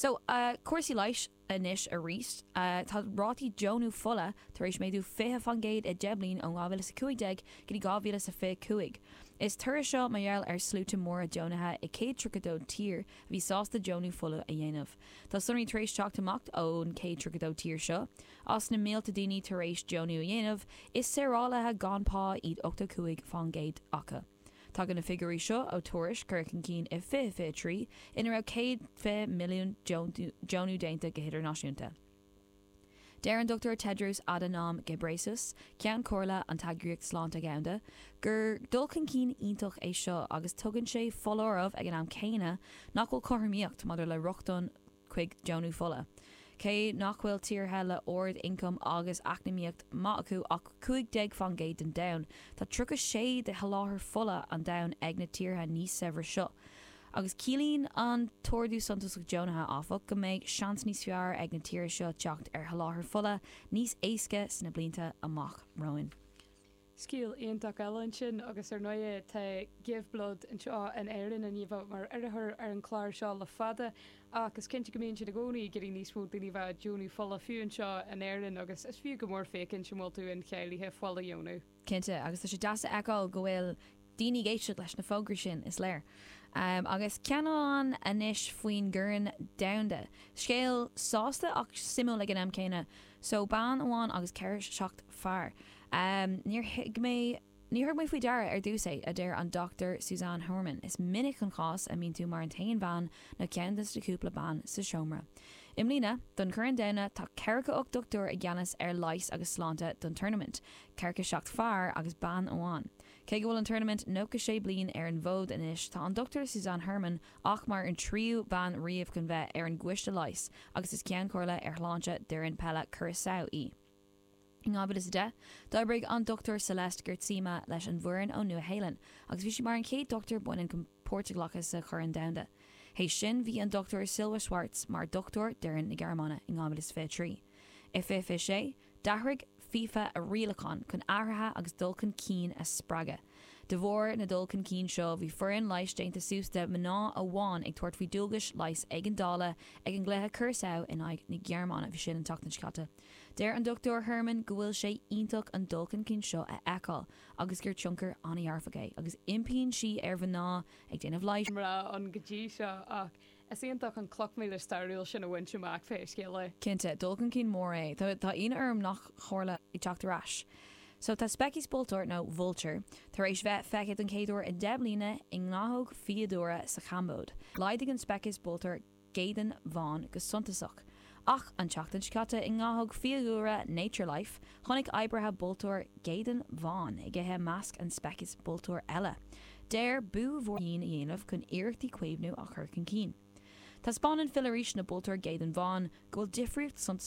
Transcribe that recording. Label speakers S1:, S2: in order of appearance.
S1: So, cúrsaí leighis anois arís. Tá rátaí deonú fola tar éis méadú 20% i 10 bliain ó 2015 go dtí 2025. Is toradh seo mar gheall ar sluaite móra deonaithe i 132 tír a bhí sásta deonú fola a dhéanamh. Tá sonraí tar éis teacht amach ón 132 tír seo. As na mílte daoine tar éis deonú a dhéanamh, is saorálaithe gan pá iad 85% acu. Tagann na figiúirí seo ó tuairisc curtha chun cinn i 2023 ina raibh 120 milliún deonú déanta go hidirnáisiúnta. Deir an Dr Tedros Adhanom Ghebreyesus, Ceann Comhairle an tEagraíocht Sláinte Dhomhanda, gur dul chun cinn iontach é seo agus tugann sé foláireamh ag an am céanna nach bhfuil cothromaíocht maidir le rochtain chuig deonú fola. Cé nach bhfuil tíortha le ard-ioncam agus eacnamaíocht maith acu ach 15% den domhan, tá 36 de sholáthar fola an domhain ag na tíortha níos saibhre seo. Agus ciallaíonn an t-ardú suntasach deonaithe, áfach, go mbeidh seans níos fearr ag na tíortha seo teacht ar sholáthar fola níos éasca sna blianta amach romhainn.
S2: Scéal iontach eile ansin agus ar ndóigh tá Give Blood anseo in Éirinn i ndiaidh bheith mar urraitheoir ar an chlár seo le fada ach is cinnte go mbíonn siad i gcónaí ag iarraidh níos mó daoine a bheith ag deonú fola fiú anseo in Éirinn agus is fiú go mór féachaint an bhfuil tú incháilithe fuil a dheonú.
S1: Cinnte, agus tá sé deas a fheiceáil go bhfuil daoine ag éisteacht leis na fógraí sin, is léir. Agus ceann amháin anois faoin gCorn Domhanda. Scéal sásta ach suimiúil ag an am céanna. So, bean amháin agus ceathracha 7 fear. Níor thuig mé, níor thug mé faoi deara ar dtús é, a deir an Dr Suzanne Herman. Is minic an chás a mbíonn tú mar an t-aon bhean nó ceann de na cúpla bean sa seomra. I mbliana, don Chorn Domhanda, tá 48 dochtúir i gceannas ar leigheas agus sláinte don tournament, 47 fear agus bean amháin. Cé go bhfuil an tournament 96 bliain ar an bhfód anois, tá an Dr Suzanne Herman ach mar an tríú bean riamh chun bheith ar an gcoiste leighis agus is Ceann Comhairle ar Shláinte d'fhoireann peile Curaçao í. In 2010, d'oibrigh an Dr Celeste Geertsema leis an bhfoireann ón Nua-Shéalainn agus bhí sí mar an chéad dochtúir baineann chun páirt a ghlacadh sa Chorn Domhanda. Théis sin, bhí an Dr Silja Schwarz mar dhochtúir d'fhoireann na Gearmáine in 2023. I 2026, d'athraigh FIFA a rialacháin chun athruithe agus dul chun cinn a spreagadh. De bharr na dul chun cinn seo, bhí foireann leighis déanta suas de mhná amháin ag tabhairt faoi dualgais leighis éigeandála ag an gcluiche Curaçao in aghaidh na Gearmáine, bhí sin an tseachtain seo caite. Deir an Dr Herman go bhfuil sé iontach an dul chun cinn seo a fheiceáil agus gur tionchar an-dhearfach é agus impíonn sí ar mhná ag déanamh leighis,
S2: mná ann go dtí seo ach is iontach an cloch míle stairiúil sin a bhaint amach pé scéal é.
S1: Cinnte, dul chun cinn mór é. Tá ionadh orm nach tharla ag teacht ar ais. So tá speiceas bultúir, nó vulture, tar éis bheith feicthe don chéad uair i 10 mbliana i ngnáthóg fiadhúlra sa Chambóid. Laghdaigh an speiceas bultúir géadan bhán go suntasach. Ach an tseachtain seo caite i ngnáthóg fiadhúlra Nature Life, chonaic oibrithe bultúr géadan bhán ag ithe i measc an speiceas bultúr eile. Deir b'fhiú a dhéanamh chun iarrachtaí caomhnú a chur chun cinn. Taispeánann filleadh arís na bultúr géadan bhán go bhfuil difríocht suntasach.